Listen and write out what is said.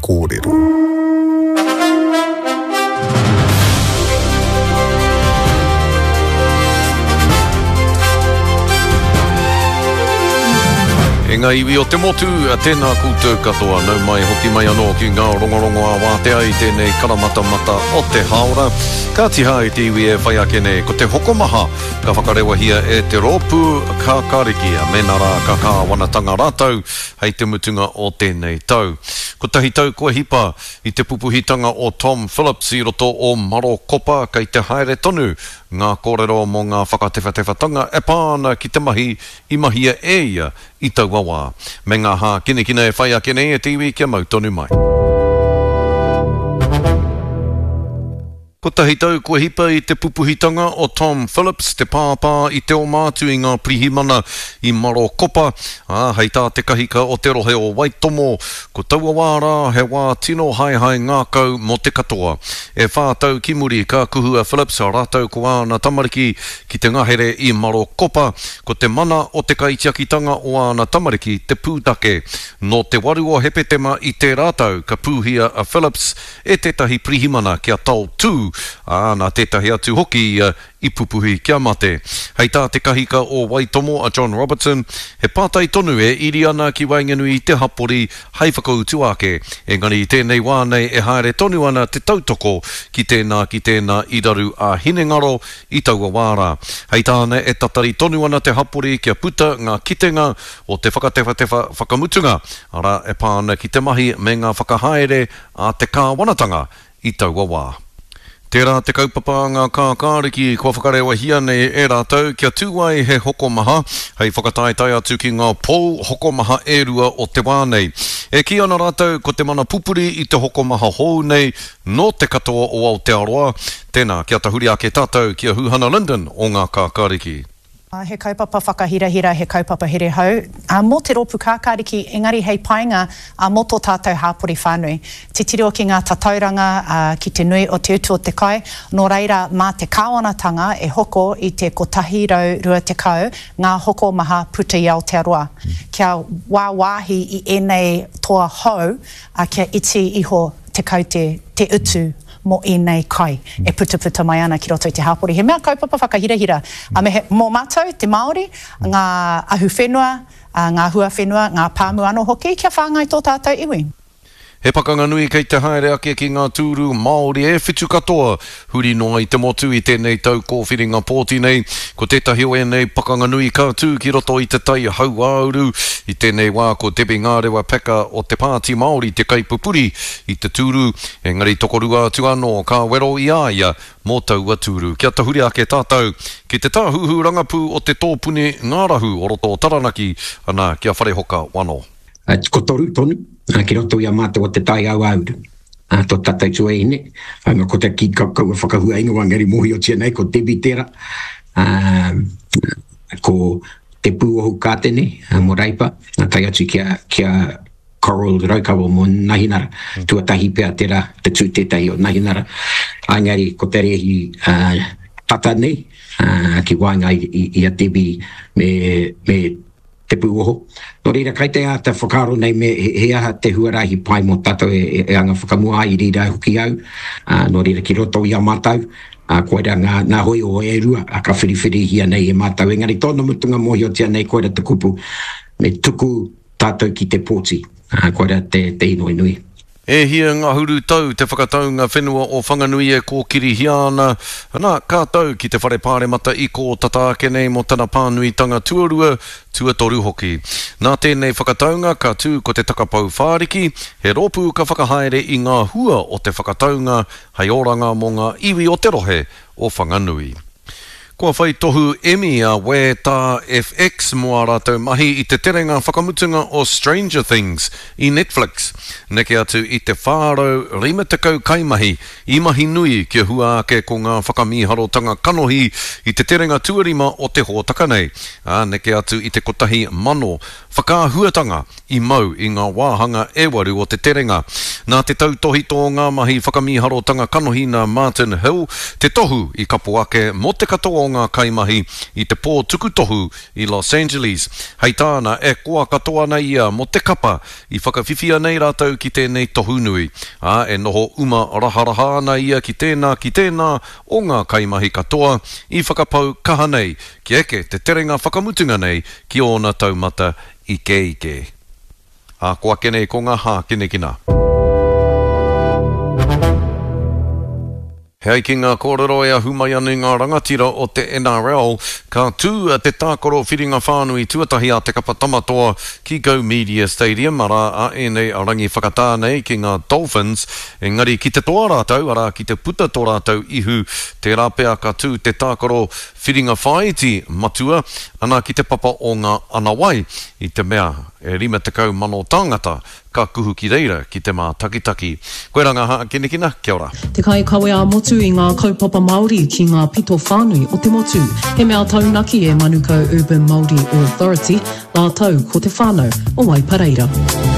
Kōrero. E ngā iwi o te motu, tēnā koutou katoa, nau mai hoki mai anō ki ngā rongorongo a wātea i tēnei karamatamata o te hāora. Ka tiha i te iwi e whai ake nei, ko te hokomaha ka whakarewahia e te rōpū Kākāriki, mēnā rā ka kāwanatanga rātou hei te mutunga o tēnei tau. Kotahi tau kua hipa i te pupuhitanga o Tom Phillips i roto o Marokopa, kei te haere tonu ngā kōrero mō ngā whakatewhatewhatanga e pā ana ki te mahi i mahia e ia i taua wā. Me ngā hākinakina e whai ake nei e te iwi kia mau tonu mai. Kotahi tau kua hipa i te pupuhitanga o Tom Phillips, te pāpā i te oma atu i ngā pirihimana i Marokopa, ā, hei tā te kahika o te rohe o Waitomo, ko taua wā rā he wā tino haehae ngākau mō te katoa. E whā tau ki muri ka kuhu a Phillips rātou ko āna tamariki ki te ngahere i Marokopa, ko te mana o te kaitiakitanga o āna tamariki te pūtake. Nō te 8 o Hepetema i tērā tau ka pūhia a Phillips e tētahi pirihimana kia taotū, ā, nā tētahi atu hoki ia i pupuhi kia mate. Hei tā te kahika o Waitomo a John Robertson, he pātai tonu e iri ana ki waenganui i te hapori hei whakautu ake, engari i tēnei wā nei e haere tonu ana te tautoko ki tēnā ki tēnā i raru ā-hinengaro i taua wā rā. Hei tāna e tatari tonu ana te hapori kia puta ngā kitenga o te whakatewhatewha whakamutunga, arā, e pā ana ki te mahi me ngā whakahaere a te kāwanatanga i taua wā. Tērā te kaupapa a ngā kākāriki kua whakarewahia nei e rātou kia tū ai he hokomaha hei whakataetae atu ki ngā pou hokomaha e rua o te wā nei. E kī ana rātou ko te mana pupuri i te hokomaha hou nei nō te katoa o Aotearoa. Tēnā, kia tahuri ake tātou ki a Huhana Lyndon o ngā kākāriki. He kaupapa whakahirahira, he kaupapa here hou mō te rōpū kākāriki, engari hei painga mō tō tātou hāpori whānui. Titiro ki ngā tatauranga, ki te nui o te utu o te kai, nō reira mā te kāwanatanga e hoko i te 120 ngā hokomaha puta i Aotearoa, kia wāwāhi i ēnei toa hou kia iti iho te kaute, te utu mō ēnei kai e putaputa mai ana ki roto i te hapori. He mea kaupapa whakahirahira, a me he, mō mātou, te Māori, ngā ahuwhenua, ngā huawhenua, ngā pāmu anō hoki, kia whāngai tō tātou iwi. He pakanga nui kei te haere ake ki ngā tūru Māori e whitu katoa huri noa i te motu i tēnei tau kōwhiringa pōti nei. Ko tētahi o ēnei pakanga nui ka tū ki roto i te tai hauāuru. I tēnei wā ko Debbie Ngarewa Packer o te Pāti Māori te kaipupuri i te tūru, engari tokorua atu anō ka wero i a ia mō taua tūru. Kia tahuri ake tātou ki te tāhuhu rangapū o te tōpuni ngārahu o roto o Taranaki, ana, ki a Wharehoka Wano. Ko toru tonu ki roto i a mātou o Te Tai Hauāuru, tō tātou tuahine, ko te ki kaua whakahua ingoa engari mōhiotia nei ko Debbie tērā, ko Te Pūohu Kātene mō Reipa, tae atu ki a Coral Raukawa mō Nahinara, tuatahi pea tērā te tū tētahi o Nahinara, engari ko te rēhi tata nei ki waenga i a Debbie me Te Pūoho. Nō reira, kai te āta whakaaro nei me he aha te huarahi pai mō tātou e anga whakamua ai i reira hoki au, nō reira ki roto i a mātou, koira ngā, ngā hōiho e rua ka whiriwhirihia nei e mātou, engari tōna mutunga mōhiotia nei koira te kupu, me tuku tātou ki te pōti, koira te, te inoi nui. E hia ngahuru tau te whakataunga whenua o Whanganui e kōkirihia ana, ana, ka tau ki te Whare Pāremata i kō tata ake nei mō tana pānuitanga tuarua, tuatoru hoki. Nā tēnei whakataunga ka tū ko te Takapau Whāriki, he rōpū ka whakahaere i ngā hua o te whakataunga hei oranga mō ngā iwi o te rohe o Whanganui. Kua whai tohu Emmy a Wē Tā FX mō ā rātou mahi i te terenga whakamutunga o Stranger Things i Netflix. Neke atu i te 450 kaimahi i mahi nui kia hua ake ko ngā whakamīharotanga kanohi i te terenga tuarima o te hōtaka nei, ā, neke atu i te 1,000 whakaahuatanga i mau i ngā wāhanga e waru o te terenga. Nā te tautōhito o ngā mahi whakamīharotanga kanohi nā Martin Hill te tohu i kapo ake mō te katoa o ngā kaimahi i te pō tuku tohu i Los Angeles. Hei tāna, e koa katoa ana ia mō te kapa i whakawhiwhia nei rātou ki tēnei tohu nui, ā, e noho uma raharaha ana ia ki tēnā, ki tēnā o ngā kaimahi katoa i whakapau kaha nei kia eke te terenga whakamutunga nei ki ōna taumata ikeike. Ā, ko ake nei ko ngā hākinakina. He ai ki ngā kōrero e ahu mai ana i ngā rangatira o te NRL, ka tū te tākaro whiringa whānui tuatahi a te kapa Tamatoa ki Go Media Stadium, arā, a ēnei rangi whakatā nei ki ngā Dolphins, engari ki te toa rātou, arā, ki te puta tō rātou ihu, tērā pea ka tū te tākaro whiringa whāiti matua, ana ki te papa o ngā anawai, i te mea e 50,000 tāngata ka kuhu ki reira ki te mātakitaki. Koirā ngā hākinakina, kia ora. Te kaikawe ā-motu i ngā kaupapa Māori ki ngā pito whānui o te motu. He mea taunaki e Manukau Urban Māori Authority rātou ko te whānau o Waipareira.